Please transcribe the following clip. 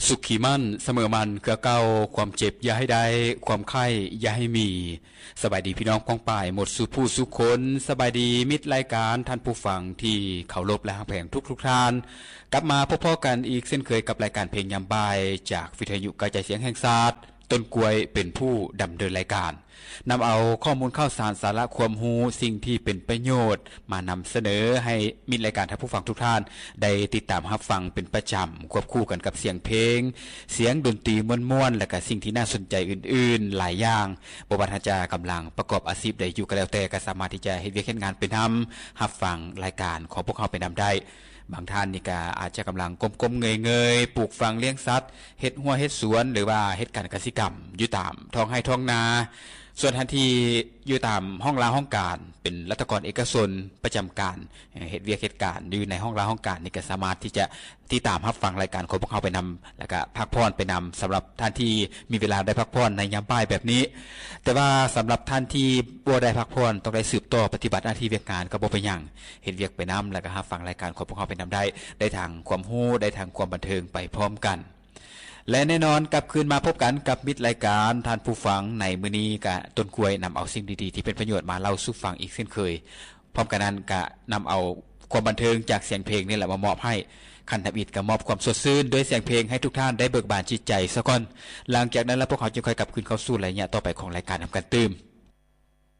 ສຸກຄີໝັ້ນສະເໝີໝັ້ນຄືເກົ່າ, ຄວາມເຈັບຢ່າໃຫ້ໄດ້, ຄວາມໄຂ້ຢ່າໃຫ້ມີ. ສະບາຍດີພີ່ນ້ອງປ້ອງປາຍໝົດສູ່ຜູ້ສູ່ຄົນ, ສະບາຍດີມິດລາຍການ, ທ່ານຜູ້ຟັງທີ່ເຄົາລົບ ແລະ ຮັກແພງທຸກໆທ່ານ. ກັບມາພົບພໍ້ກັນອີກເຊັ່ນເຄີຍກັບລາຍການເພງຍາມບ່າຍ ຈາກວິທະຍຸກະຈາຍສຽງແຫ່ງຊາດ, ຕົ້ນກ້ວຍເປັນຜູ້ດຳເນີນລາຍການ. ນຳເອົາຂໍ້ມູນຂ່າວສານ, ສາລະຄວາມຮູ້, ສິ່ງທີ່ເປັນປະໂຫຍດມານຳສະເໜີໃຫ້ມິດລາຍການ, ທ່ານຜູ້ຟັງທຸກທ່ານໄດ້ຕິດຕາມຮັບຟັງເປັນປະຈຳ, ຄວບຄູ່ກັນກັບສຽງເພງ, ສຽງດົນຕີມ່ວນໆ ແລະ ກະສິ່ງທີ່ໜ້າສົນໃຈອື່ນໆຫຼາຍຢ່າງ. ບໍ່ວ່າທ່ານຈະກຳລັງປະກອບອາຊີບໃດຢູ່ກໍແລ້ວແຕ່, ກໍສາມາດທີ່ຈະເຮັດວຽກເຮັດງານໄປນຳ, ຮັບຟັງລາຍການຂອງພວກເຮົາໄປນຳໄດ້. ບາງທ່ານນີ້ກໍອາດຈະກຳລັງກົ້ມໆເງີຍໆ ປູກຝັງລ້ຽງສັດ, ເຮັດຮົ້ວເຮັດສວນ ຫຼືວ່າເຮັດການກະສິກຳຢູ່ຕາມທ້ອງໄຮ່ທ້ອງນາ. ສ່ວນທ່ານທີ່ຢູ່ຕາມຫ້ອງລາຫ້ອງການ ເປັນລັດຖະກອນເອກະຊົນປະຈຳການ, ເຮັດວຽກເຮັດການຢູ່ໃນຫ້ອງລາຫ້ອງການນີ້ ກໍສາມາດທີ່ຈະຕິດຕາມຮັບຟັງລາຍການຂອງພວກເຮົາໄປນຳ ແລ້ວກະພັກຜ່ອນໄປນຳ ສຳລັບທ່ານທີ່ມີເວລາໄດ້ພັກຜ່ອນໃນຍາມບ່າຍແບບນີ້. ແຕ່ວ່າສຳລັບທ່ານທີ່ບໍ່ໄດ້ພັກຜ່ອນ ຕ້ອງໄດ້ສືບຕໍ່ປະຕິບັດໜ້າທີ່ວຽກງານກໍບໍ່ເປັນຫຍັງ, ເຮັດວຽກໄປນຳ ແລ້ວກໍຮັບຟັງລາຍການຂອງພວກເຮົາໄປນຳໄດ້, ໄດ້ທັງຄວາມຮູ້ ໄດ້ທັງຄວາມບັນເທີງໄປພ້ອມກັນ. ແລະ ແນ່ນອນກັບຄືນມາພົບກັນກັບມິດລາຍການ, ທ່ານຜູ້ຟັງ, ໃນມື້ນີ້ກະຕົ້ນກ້ວຍນຳເອົາສິ່ງດີໆທີ່ເປັນປະໂຫຍດມາເລົ່າສູ່ຟັງອີກເຊັ່ນເຄີຍ. ພ້ອມກັນນັ້ນກະນຳເອົາຄວາມບັນເທີງຈາກສຽງເພງນີ້ແຫຼະມາມອບໃຫ້. ຂັ້ນທຳອິດກະມອບຄວາມສົດຊື່ນດ້ວຍສຽງເພງໃຫ້ທຸກທ່ານໄດ້ເບີກບານຈິດໃຈສາກ່ອນ. ຫຼັງຈາກນັ້ນແລ້ວພວກເຮົາຈຶ່ງຄ່ອຍກັບຄືນເຂົ້າສູ່ໄລຍະຕໍ່ໄປຂອງລາຍການນຳກັນຕື່ມ.